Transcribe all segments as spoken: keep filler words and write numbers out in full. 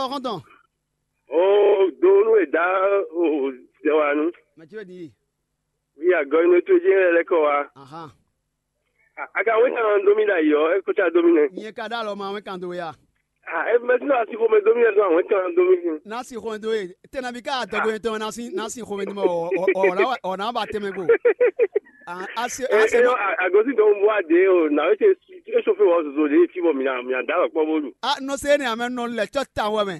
Xɔ́ntɔn. Oo, do nú e dá o zɛwanu. Mɛ ce wɛ din ye? Wi agɔ inú to jɛ lɛ kɔ wa. Ahan. A ka wɛn kan dó mi da yɔ, e ko ca dó mi nɛ. Nyɛ ka dá lɔ ma wɛn kan dó ya. A e mɛ tún asi xɔmɛ dó mi nɛ, dó awɛn kan dó mi nɛ. N'a si xɔmɛ dó ye. Tɛ na bi ká adɔgo yẹn tɔn na si na si xɔmɛ dó ma ɔ ɔ ɔ na ba tɛmɛ go. A a se E a se e yɔ ma. Agosi dɔn bu ade o, na o se e sofe wɔ zozo de fi bɔ mi na mi na da lɔ kpɔ bolu. A nɔ se ne amɛ nɔ lɛ tsɔ ta wɔ mɛ.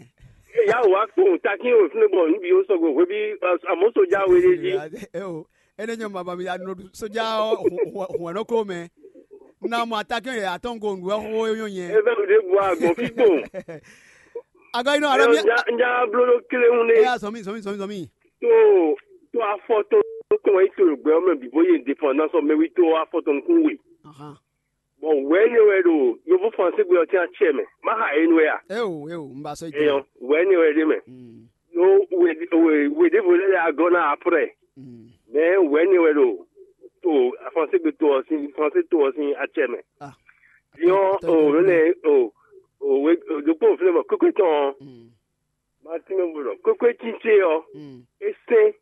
E ya wa kpɔn takin o fúnɛ bɔ níbi o sɔgɔ hwebi amɔ soja wele di. E o ene nyɔ mama mi ya nɔ soja hwɛnɔ ko mɛ. Na mɔ atakɛ yɛ atɔn ko ndu ɛxo yɔ nyɛ. E bɛ de bu agbɔn fi kpɔn. Agɔ yi nɔ E alɔ mi. Nya nya blo ɖo kle ŋu ne. Ya zɔmi zɔmi zɔmi zɔmi. To to afɔ tɔn tɔn yi to gbɛ mɛ bi bo ye dépendance mɛ wi to afɔ tɔn nukun we. Ahan. Bɔn wɛ ne wɛ ɖo yovo français gbé ɔtí atsɛ mɛ má ha yé nu wɛ a. Eo eo n ba sɔ Eyɔn jɛ. Wɛ ne wɛ ɖe mɛ. Mm. No we we we ɖevo lɛ ya gɔna après. Mm. Mɛ wɛ ne wɛ ɖo to français gbé to ɔsín français to ɔsín atsɛ mɛ. Ah. Diɔn Tɔ o jɔ lɛ o o we dokpo fúnɛ mɔ kókó tɔn. Mm. Martin mɛ bolo kókó títí ɔ. Mm. Esɛn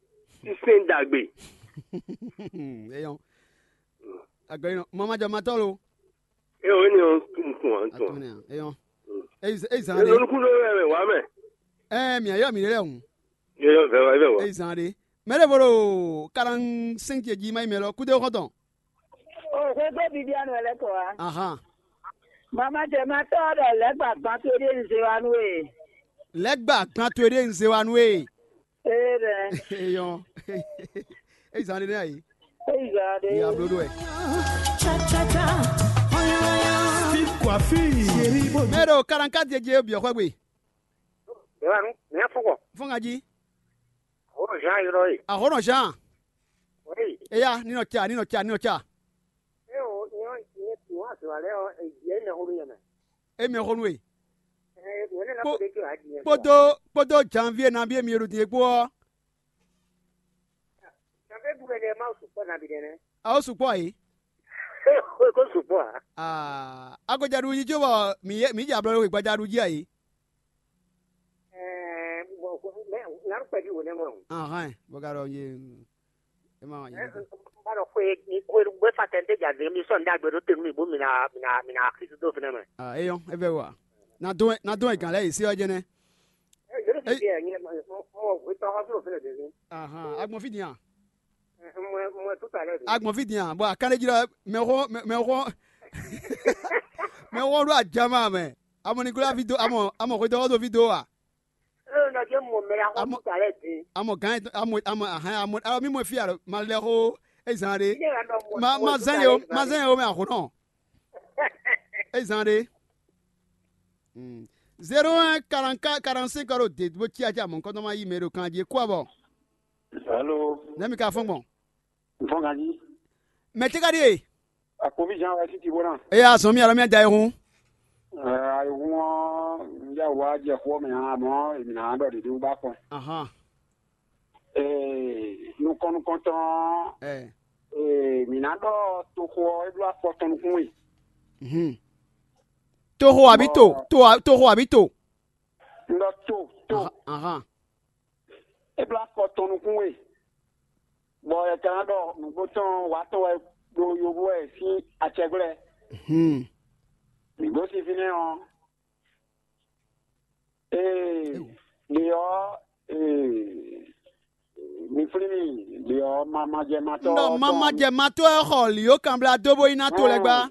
sísɛn dàgbé. Eyɔn. Agɔ yi nɔ mama jɔ matɔ lo. E o ne o tun tun an tun. Atun ne eyɔn. Eyi eyi zan de. Lolukun ɖo wɛ wà mɛ. Ɛ mi ayɔ mi lɛ hun. Yɔ vɛ wà vɛ wà. Eyi zan de. Mɛ de bolo quarante cinq ce ji ma yi mɛ lɔ kudo xɔtɔn. O xwé gbé bibianu wɛ lɛ kɔ wa. Ahan. Mama jɛ matɔ ɖɔ lɛgba gban to ɖe nze wa nu e. Lɛgba gban to ɖe nze wa nu e. Ee ɖɛ. Eyɔn. Eyi zan de ne ayi. Eyi zan de. Eyi ablo do wɛ. Steve Coiffure. Mɛ ɖo quarante-quatre jeje biɔ xɔ gbe. Bɛwanu, mɛ fɔkɔ. Fɔngaji. Ahɔnɔ Jean yɔrɔ ye. Ahɔnɔ Jean. Oui. Eya, ninɔ tsa, ninɔ tsa, ninɔ tsa. E o, nyɔ nyɛ tu wa se wa lɛ o, e yɛ ne xo yɛ mɛ. E mɛ xo nu e. Eh, wele na Kpo- ko de ke a di yɛ. Kpodo kpodo janvier nabí emi ɖo din kpó ɔ. Janvier bu ne ma su kpɔ na bi de ne. Awo sukpɔ yi. Ko su kpɔ a. Aa agojaɖu yi tso bɔ mi yɛ mi dza blɔ ɖo gbadzaɖu jí ayi. Eh, bon, mais na ko pɛdi wo ne mo. Ahàn bɔ ka ɖɔ ye. E ma wà yìí. Ba ɖɔ xwe xwe gbé fa tɛn tɛ dza de mi sɔn dagbe ɖo tenu mi bo mi na mi na mi na xisi do fɛnɛ mɛ. Ah, eyɔn e vɛ wa. Na dɔn na dɔn e gan lɛ yi se ɔ jɛnɛ. Eh, je ne sais bien, ni mo mo we pa wa flo fɛnɛ de. Ahan agbɔn fi din a. Mo mo tout à l'heure. Agbɔn fi din a bɔn akanlejilɔ mɛ xɔ mɛ xɔ mɛ xɔ ɖo ajama mɛ. Amɔ ni kula fi do amɔ amɔ xwe dɔgɔ do fi do wa. Amɔ amɔ gan amɔ amɔ ahan amɔ alɔ mi mɔ fi alɔ ma lɛ xo ezan ɖe. Ma ma zan yɛ o ma zan yɛ o mɛ axo nɔ. Ezan ɖe. Zéro un quarante quatre quarante cinq ɔrɔ de bó cia cia mɔ nkɔtɔ ma yi mɛ ɖo kan jí kó abɔ. Alo. Nɛ mi ka fɔn gbɔn. Nfɔn kan jí. Mɛ tɛ ka ɖi e. Akpovi Jean Wasi ti bó na. Eya zɔn mi alɔ mi da ehun. Ayihun ɔ́, n yá wá jɛ xó mɛ ǎ, amɔ̌ è nǎ ɖɔ ɖěɖé wú bá kɔn. Ahan. Ee, nukɔn nukɔntɔn ɔ́, Ɛ. Ee, mǐ ná ɖɔ toxo ɔ́, é bló afɔ tɔn nukún we. Mhm. Toxo àbí to? Bɔ- To a- toxo àbí to? Un ɖɔ to, to. Ahan, ahan. É bló afɔ tɔn nukún we. Bɔ è ka ná ɖɔ nǔgbó tɔn wǎ tɔn wɛ ɖo yovo wɛ sín acɛgbɛ́. Hmm. Mǐ gosín fínɛ́ ɔ́. Ee, Ewu. Ɖě ɔ́, ee, mi flín mì, ɖě ɔ́, mamajɛmatɔ́ Nɔ ɔ́ tɔn mamajɛmatɔ́ ɛ xɔ lǐó kanblá dó bó yi ná to lɛ́ɛ gbá.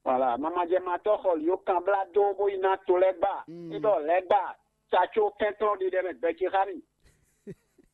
Voilà, mamajɛmatɔ́ xɔ lǐó kanblá dó bó yi ná to lɛ́ɛ gbá. Mm. É ɖɔ lɛ́ɛ gbá, tsa có kɛnklɔ́n ɖiɖɛ mɛ gbɛ ce xá mì.